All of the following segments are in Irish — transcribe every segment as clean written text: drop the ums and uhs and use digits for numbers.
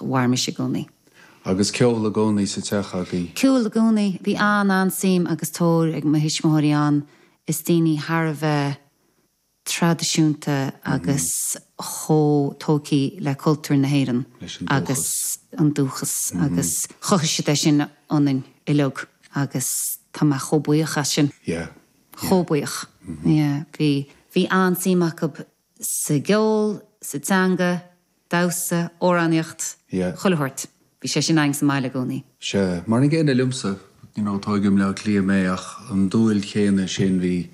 Mhair mise i gcónaí. Agus ceol i gcónaí sa teach agaibh? Ceol i gcónaí. Bhí an-an-suim agus tóir ag mo thuismitheoirí ann. Is daoine thar a bheith traidisiúnta agus chomh tógtha le cultúr na hÉireann agus an dúchas agus chothaigh siad é sin ionainn uilig agus tá mé chomh buíoch as sin. Chomh buíoch. Yeah. Bhí, bhí an-suim acu sa gceol, sa teanga, damhsa, amhránaíocht, chuile shórt. Bhí sé sin againn sa mbaile i gcónaí. Sea, mar an gcéanna liomsa, you know, tógadh i mBleá Cliath mé ach an dúil chéanna sin bhí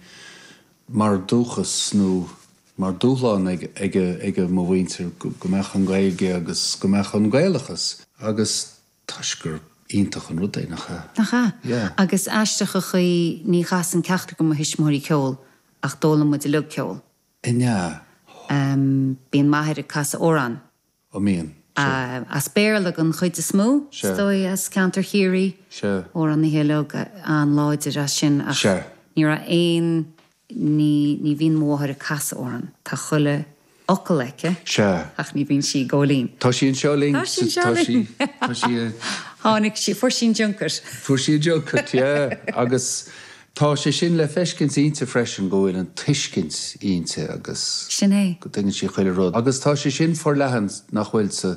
mar dúchas nó mar dúshlán ag, ag, ag mo mhuintir go mbeadh an Ghaeilge agus go mbeadh an Gaelachas agus toisc gur iontach an rud é, nach ea? Nach ea? Yeah. Agus aisteach an chaoi, ní chasann ceachtar de mo thuismitheoirí ceol ach d'fhoghlaim muid uilig ceol. An ea? Bíonn m'athair ag casadh amhrán. An mbíonn? Sea. As Béarla den chuid is mó, is dóigh, as ceantar Chiarraí. Sea. Amhránaithe uilig an-láidir as sin ach Sea. ní raibh aon, ní, ní bhíonn mo mháthair ag casadh amhrán. Tá chuile fhocal aici Sea. ach ní bhíonn sí ag gabháil fhoinn. Tá sí anseo linn. Tá sí anseo linn. Tá sí, tá sí. Tháinig sí, fuair sí an junket. Fuair sí an junket, yeah. Agus Tá sé sin le feiscint inti freisin, go bhfuil an tuiscint inti agus Sin é. go dtuigeann sí chuile rud. Agus tá sé sin forleathan, nach bhfuil, sa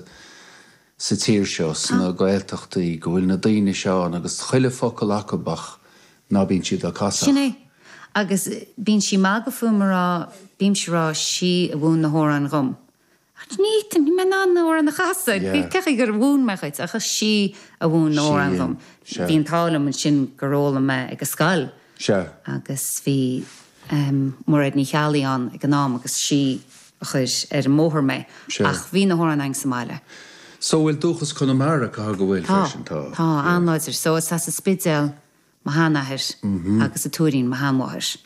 sa tír seo, sna Gaeltachtaí, go bhfuil na daoine seo ann agus chuile focal acu ach ná bíonn siad á casadh. Sin é. Agus bíonn sí ag magadh fúm a rá, bímse a rá, sí a mhúin na hamhráin dhom. Ach ní fhéadfainn, níl mé in ann na hamhráin a chasadh. Cén chaoi gur mhúin mé dhuit, ach is sí a mhúin na hamhráin dhom. Bhí an t-ádh liom ansin gur fhoghlaim mé ag an scoil. Agus bhí Mairéad Ní Cheallaigh ann ag an am agus sí a chuir ar an mbóthar mé. Ach bhí na hamhráin againn sa mbaile. So bhfuil dúchas Conamara, caithfidh go bhfuil freisin? Tá. Tá, an-láidir. So is as an Spidéal mo sheanathair agus an Tuairín mo sheanmháthair.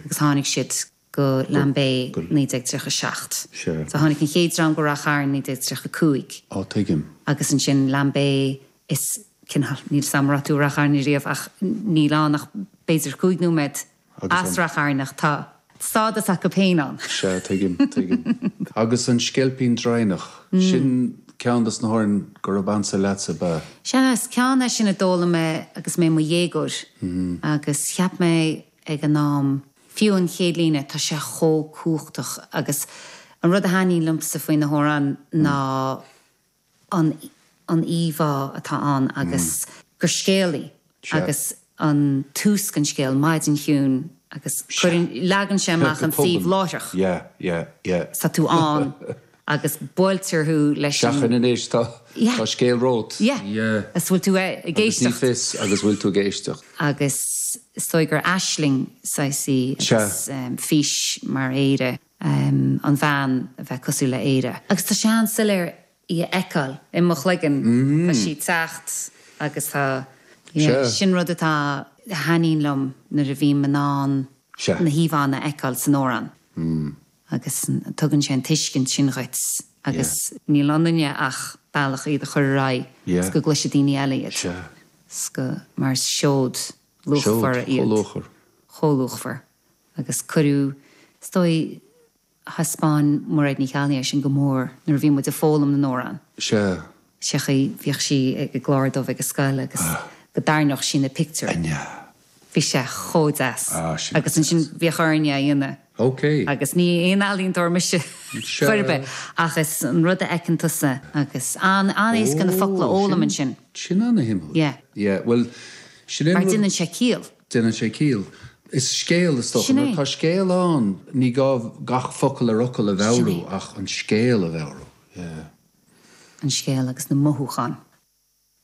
Agus tháinig siad go Lambay 1937. So tháinig an chéad dream go Rath Chairn 1935. Á, tuigim. Agus ansin Lambay is cineál, níl 's a'm an raibh tú i Rath Chairn riamh ach níl ann ach b'fhéidir chúig nóiméad as Rath Chairn ach tá stádas acu féin ann. Sea, tuigim, tuigim. Agus an Sceilpín Draighneach, sin ceann dos na hamhráin gurab ansa leatsa, ab ea? Sea, is ceann é sin a d'fhoghlaim mé agus mé i mo dhéagóir agus cheap mé ag an am, Fiú an chéad líne, tá sé chomh cumhachtach agus an rud a thaitníonn liomsa faoi na hamhráin ná an an íomhá atá ann agus gur scéal í agus an tús den scéal, maidin chiúin agus cuireann, leagann sé amach an suíomh láithreach. Tá tú ann agus buailtear thú leis an. Seachain anois, tá scéal romhat. Yeah. Agus bhfuil tú ag éisteacht. Agus ní fios agus bhfuil tú ag éisteacht. Agus is dóigh gur aisling saghas í agus fís mar Éire, an bhean a bheith cosúil le Éire. Agus tá sé an-soiléir í a fheiceáil i mo chloigeann, tá sí ag teacht agus tá, yeah, sin rud atá, a thaitníonn liom nuair a bhím in ann na híomhánna a fheiceáil san amhrán. agus tugann sé an tuiscint sin dhuit agus níl ionainne ach bealach iad a chur ar aghaidh is go gcloisfidh daoine eile iad is go, mar is seod luachmhar iad. Chomh luachmhar. Agus cuireadh, is dóigh, thaispeáin Mairéad Ní Cheallaigh é sin go mór nuair a bhí muid ag foghlaim na n-amhrán. Sé chaoi, bhíodh sí ag an gclár dubh ag an scoil agus go dtarraingeodh sí na pictiúir. Bhí sé chomh deas. Agus ansin bhíodh orainn é a dhéanamh. Agus ní aon ealaíontóir mise chor ar bith ach is an rud a fheiceann tusa agus an-éasca na focla a fhoghlaim ansin. Sin an-shuimiúil. Yeah. Yeah, bhuel, sin é an rud. Mar déanann sé ciall. Déanann sé ciall. Is scéal, is dócha. Sin é. Nuair atá scéal ann, ní gá gach focal ar fhocal a mheabhrú ach an scéal a mheabhrú. Yeah. An scéal agus na mothúcháin.